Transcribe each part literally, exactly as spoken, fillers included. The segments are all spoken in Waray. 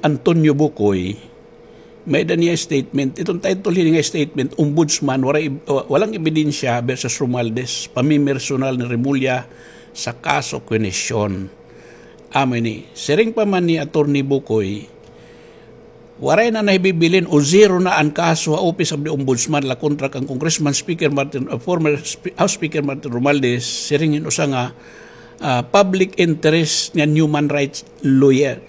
Antonio Bucoy, may-ada niya statement. Iton title hini nga statement, Ombudsman, waray eb-, wa-, walang ebidensya versus Romualdez, pamimersonal ni Remulla sa kaso Quination. Amo ini, siring pa man ni Attorney Bucoy, waray na nahibibilin o zero na an kaso ha Office of the Ombudsman la kontra kan Congressman Speaker Martin, uh, former Spe-, House Speaker Martin Romualdez, siring hin usa nga, uh, public interest nga human rights lawyer.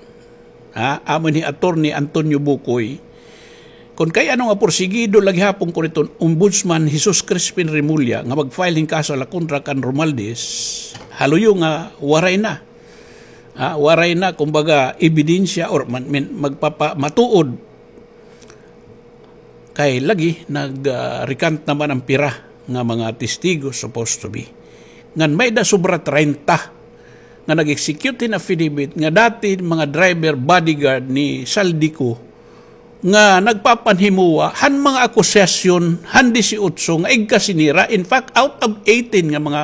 Ha, amo ni Attorney Antonio Bucoy. Kon kay ano nga porsigido la gihapon kon iton Ombudsman Jesus Crispin Remulla nga mag-file hin kaso la kontra kan Romualdez, ha luyo nga waray na. Ha, waray na, kumbaga, ebidensya or man, min-, magpapamatuod. Kay lagi, nag, ah, recant naman an pira nga mga testigo, supposed to be. Ngan may-ada sobra treinta nga nag-execute hin affidavit nga dati mga driver, bodyguard ni Zaldy Co nga nagpapanhimuwa han mga akusasyon han disiotso nga igkasi nira. In fact, out of eighteen nga mga,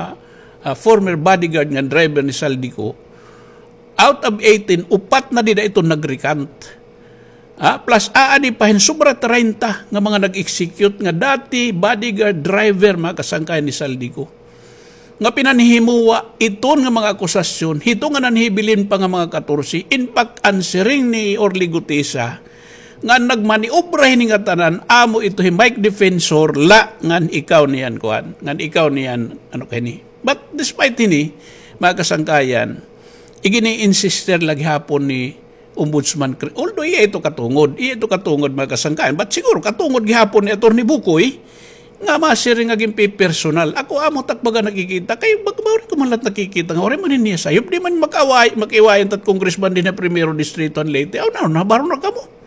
ah, former bodyguard nga driver ni Zaldy Co, out of eighteen, upat na dida iton nag-recant. Ah, plus aadi pa hin sobra treinta nga mga nag-execute nga dati bodyguard, driver, mga kasangkayan, ni Zaldy Co nga pinanhihimuwa iton nga mga akusasyon, hito nga nanhibilin pa nga mga katorse. In fact, an siring ni Orly Gutesa nga nagmaniobra hini nga tanan, amo ito hi Mike Defensor la, ngan ikaw niyan kuan, ngan ikaw niyan, ano kay ni. But despite hini, mga kasangkayan, igini-insister la gihapon ni Ombudsman Cre-, although iya ito katungod, iya ito katungod, mga kasangkayan, but siguro katungod gihapon ni Attorney Bucoy, nga masiring nga ginpipersonal. Ako amo tak baga nakikita, kay bag-, bawal ko man la't nakikita nga, waray man niya sayop, di man makaaway, makiwayan tat congressman dinhi ha Primero Distrito han Leyte. Aw, na, nabaron na kamo.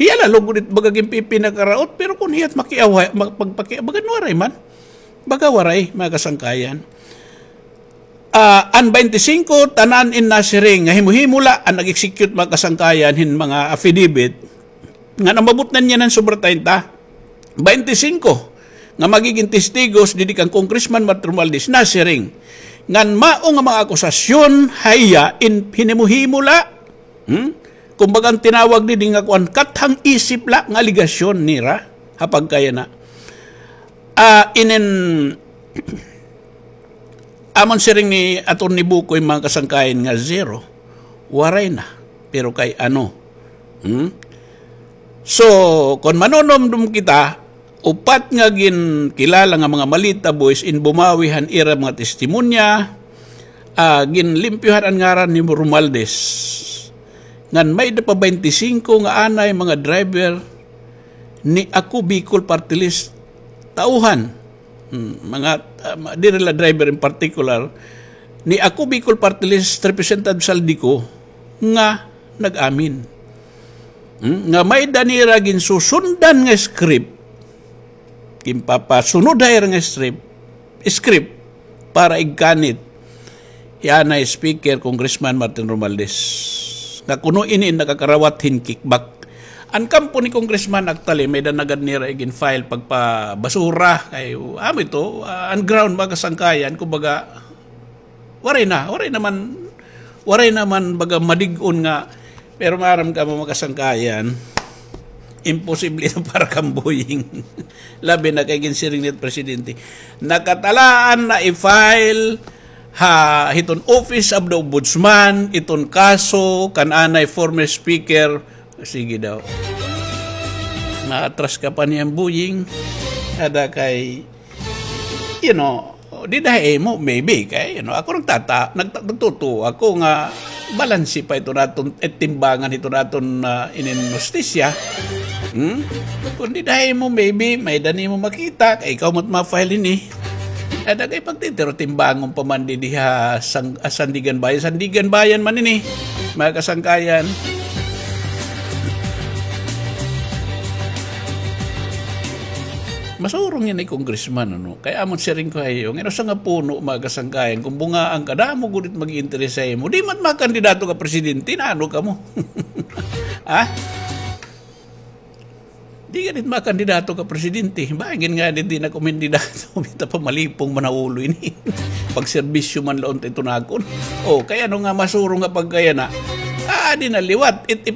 Hiya la lugod it baga ginpipinakaraot, pero kon hiya't makiaway, mag-, pagpaki-, baga waray man. Baga waray, mga kasangkayan. Ah, an baynte singko, tanan in nasiring nga himo-himo la an nag-execute, mga kasangkayan, hin mga affidavit. Ngan umabot na niyan an sobra treinta. Baynte singko nga magigin testigos didi kan Congressman Martin Romualdez nasiring ngan mao nga mga akusasyon ha iya in hinimo-himo la. Hmm? Kumbaga, an tinawag didi nga kuan, kathang isip la nga alegasyon nira ha pagkayana. Ah, inin, amon siring ni Attorney Bucoy, mga kasangkayan, nga zero. Waray na. Pero kay ano? Hmm? So, kon manunumdom kita, upat nga ginkilala nga mga Malita Boys in bumawi han ira mga testimonya, ah, ginlimpyuhan an ngaran ni Romualdez. Ngan may-ada pa baynte singko nga anay mga driver ni Ako Bicol Party List tauhan. Hmm, mga, ah, ma-, diri la driver in particular, ni Ako Bicol Party List Representative Zaldy Co nga nag-amin. Hmm, nga may-ada nira ginsusundan nga script, ginpapasunod ha ira nga script, script para igkanit hi anay Speaker, Congressman Martin Romualdez, nga kuno ini nakakarawat hin kickback. An kampo ni Congressman, actually, may-ada na gad nira igin-file pagpabasura. Kay, amo ito, ah, an ground, mga kasangkayan, kumbaga, waray na, waray naman, waray naman baga madig-on nga, pero maaram kamo, mga kasangkayan, imposible ito para kan Boying. Labi na kay ginsiring ni presidente, nakatalaan na i-file ha hiton Office of the Ombudsman iton kaso kan anay former speaker. Sige daw. Naatras ka pa niyan, Boying. Ada kay, you know, dida ha imo, maybe, kay, you know, ako nagtata-, nagta-, nagtutuo ako nga balanse pa ito naton, eh, timbangan ito naton, ah, inin hustisya. Hmm? Kon dida ha imo, maybe, may-ada nimo makita, kay ikaw mo't ma-file ini. Ada kay pagtitiro timbangon pa man didi ha sang-, ah, Sandiganbayan. Sandiganbayan man ini, mga kasangkayan. Masurong ini congressman, ano? Kay amon siring ko ha iyo, ngan usa nga puno, mga kasangkayan, kon bungaan ka, damo gud it mag-interes ha imo. Di man makandidato ka presidente, naano kamo? Ha? Di ka dit makandidato ka presidente. Bangin nga dit di na kumandidato. Bita pa malipong man ha ulo ini. Pagserbisyo man la unta ito nakon. O, kay ano nga masurong nga pagkayana? Ah, Di na liwat. It, if